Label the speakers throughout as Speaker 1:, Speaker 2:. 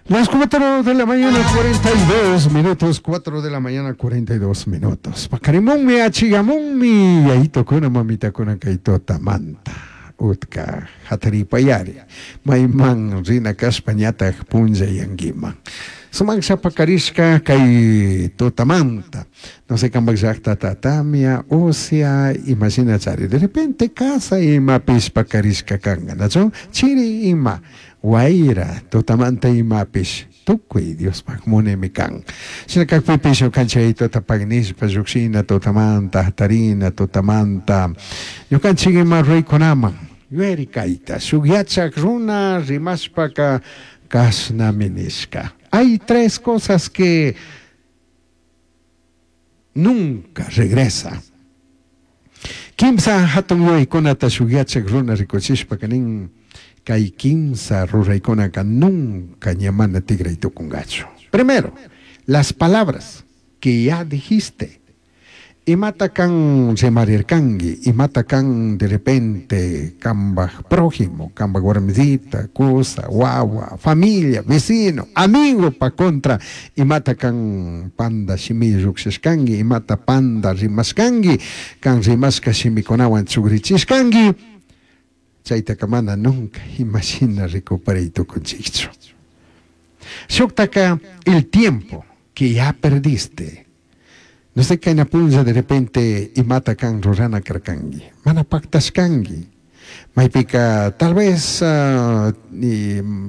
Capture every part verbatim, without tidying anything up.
Speaker 1: Las cuatro de la mañana, cuarenta y dos minutos, cuatro de la mañana, cuarenta y dos minutos. Paqarimunmi, achiyamunmi, yayitukuna, mamitakuna, kay tutamanta. Utka, hataripayari. Mayman rina kashpa ñataj punllayankiman. Sumaklla pakarishka kay tutamanta. No sé kambak llaktata tamia, usya, imashina chari. De repente casa imapish pakarishka kanka, nachu? Chiri ima, wayra, tutamanta imapish. Tukuy Diospaj munaymi kan. Shina kakpipish ñukanchik tutapak nishpa llukshina tutamanta, hatarina tutamanta. Ñukanchik ima ruraykunaman yuyari kayta. Shuk yachak runa rimashpaka kashnami nishka. Hay tres cosas que nunca regresa. Kimsa hatun yuyaykunata shuk yachak runa rikuchishpaka nin kay kimsa ruraykunaka nunca ña mana tigray tukungachu. Primero, las palabras que ya dijiste. Imata kan rimarirkanki, imata kan de repente kambaj prójimo, kambaj warmisita, kusa, wawa, familia, vecino, amigo pa contra, imata kan panda shimi llukshishkanki, imata panda rimashkanki, kan rimashka shimikunawan chugrichishkanki, chaytaka mana nunca imashina recuperay tukunchikchu. Shuktaka el tiempo que ya perdiste. No sé kayna punlla de repente imata kan rurana karkanki, mana paktashkanki. Maypika tal vez uh,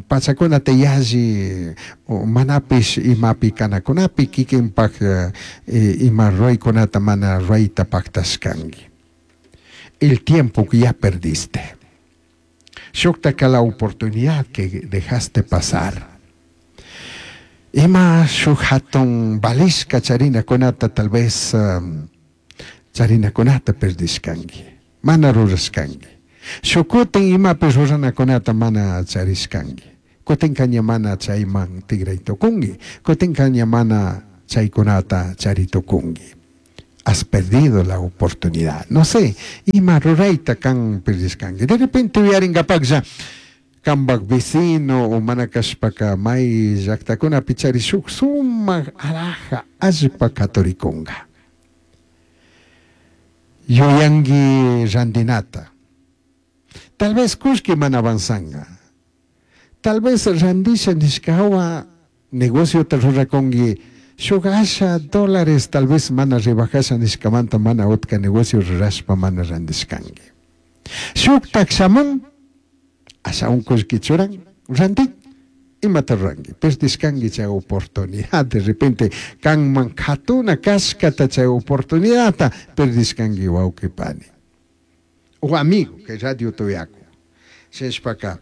Speaker 1: pachakunata yalli o manapish imapi kanakunapi kikinpak uh, ima ruraykunata mana rurayta paktashkanki. El tiempo que ya perdiste. Shuktaka la oportunidad que dejaste pasar. Ima shuk hatun valishka charinakunata tal vez um, charinakunata perdishkanki, mana rurashkanki. Shuk kutin imapish ruranakunata mana charishkanki. Kutinka ña mana chayman tigray tukunki. Kutinka ña mana chaykunata chari tukunki. Has perdido la oportunidad. No sé, ima rurayta kan perdishkanki. De repente uyaringapaklla kambak vecino o mana kashpaka may llaktakunapi chari shuk sumak alhaja allpa katurikunga. Yuyanki randinata. Tal vez kullki mana avanzanga. Tal vez randisha nishkawa negociota rurakunki shuk asha dólares tal vez mana rebajasha nishkamanta mana utka negocio rurashpa mana randishkanki. Shuktak shamun ashawan kullki churan rantin imata ruranki perdishkanki chay oportunidad. De repente kanman katuna kashkata chay oportunidadta perdishkanki, wawqi pani o amigo que radio tuyaku. Shinashpaka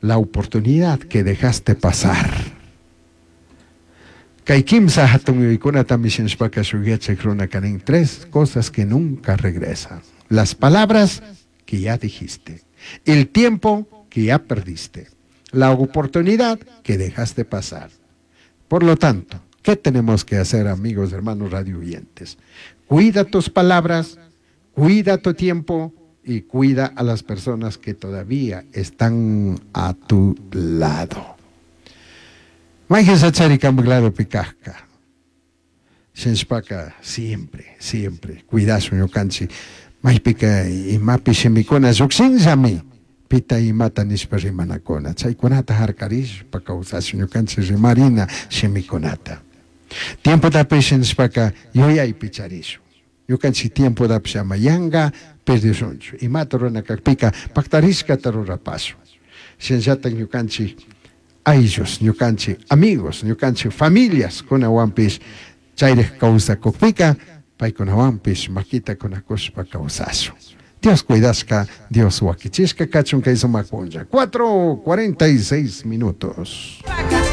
Speaker 1: la oportunidad que dejaste pasar. Kay kimsa hatun yuyaykunatami shinashpaka shuk yachak runaka nin tres cosas que nunca regresan: las palabras que ya dijiste, el tiempo que ya perdiste, la oportunidad que dejaste pasar. Por lo tanto, ¿qué tenemos que hacer, amigos, hermanos radio oyentes? Cuida tus palabras, cuida tu tiempo y cuida a las personas que todavía están a tu lado. Mayqin kambak ladopi kajka. Shinashpaka siempre, siempre, cuidashun ñukanchik. Maypika imapi shimikuna llukshinllami. Pita imata nishpa rimanakuna. Chaykunata harkarishpa kawsashun ñukanchik rimarina shimikunata. Tiempotapish nishpaka yuyaypi charishun. Ñukanchik tiempotapish ama yanka perdishunchu. Imata rurana kakpika paktarishkata rurapashun. Shinallatak ñukanchik ayllus, ñukanchik amigos, ñukanchik familias kunawanpish chayrik kawsakukpika paykunawanpish makita kunakushpa kawsashun. Dios cuidashka, Dios wakichishka kachun kay sumak punlla. cuatro cuarenta y seis minutos.